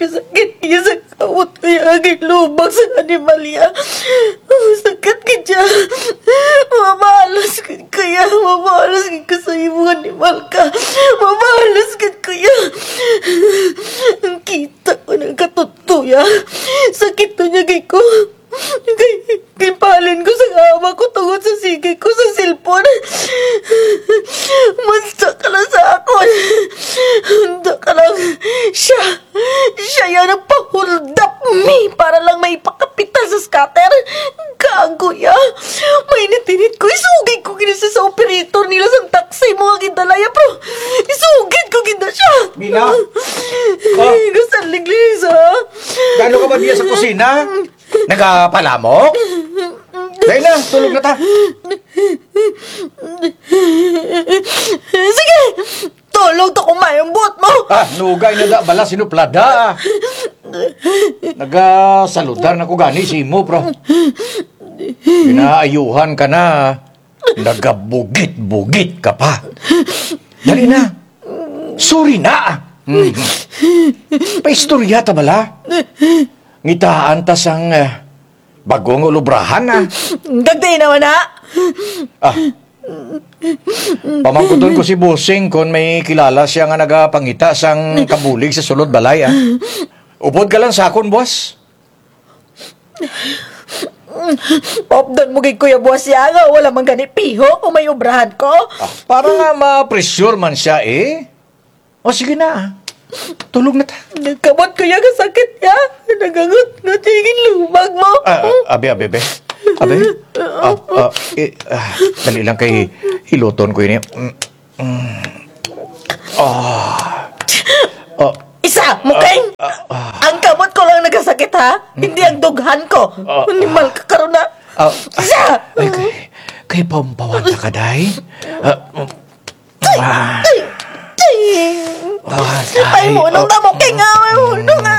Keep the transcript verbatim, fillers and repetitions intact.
Sakit kaayo sa kamot ko ya, kay lubag sa animal ya. Sakit kaayo. Mabalos gid ko ya, mabalos gid ko sa imong animal ka. Mabalos gid ko ya. Kita ko na katuto ya. Sakit to niya kay ko. Kay, kay palin ko sa ama ko tungod sa sige ko sa cellphone. Manda ka lang sa akon. Manda ka lang. Siya, siya ya nagpa-hold up mi para lang maipakapital sa scatter. Gago ya. Mainit-init ko. Isugid ko gid na sa operator nila sa taxi mo nga gindala ya, bro. Isugid ko gid na siya. Mila? Oh. Ay, gasalig, Lisa. Gaano ka ba diya sa kusina? Nagapalamok? Dali na, tulog na ta. Sige! Tulog ta kung maayong buot mo! Ah, nugay na da, bala, sinuplada, ah. Nagasaludar na ko gani sa imo, bro. Ginaayuhan ka na. Nagabugit-bugit ka pa. Dali na. Sorry na. Hmm. Paistorya ta bala. Ngitaan ta sang, eh, bag-o nga ulubrahan, ah. Gagdi naman na. Ah. Pamangkuton ko si Bossing kon may kilala siya nga nagapangita sang kabulig sa sulod balay, ah. Upod ka lang sa akon, boss. Paupdan mo gid, Kuya Buwas, ya nga wala man gani piho kung may obrahan ko. Ah, para nga ma-pressure man siya, eh. O, sige na, ah. Tulog na ta. Nagkamot ko ya kasakit ya. Nagangot-ngot ya gid lubag mo. Ah, ah, abi, abi, abi. Abi. Ah, ah, eh, ah, dali lang kay hiluton ko ini. Mm. Mm. Ah. Ah. Isa, Mukeng! Ah, ah. Ang kamot ko lang nagasakit, ha? Hindi ang dughan ko. Ah, ah. Animal ka karon na. Ah, ah. Isa! Ay, kay, kay pampawanta ka, day? Ah, mm. Ah. Ah, ay, day. Ay, munong na, Mukeng, ah. Ay, munong na.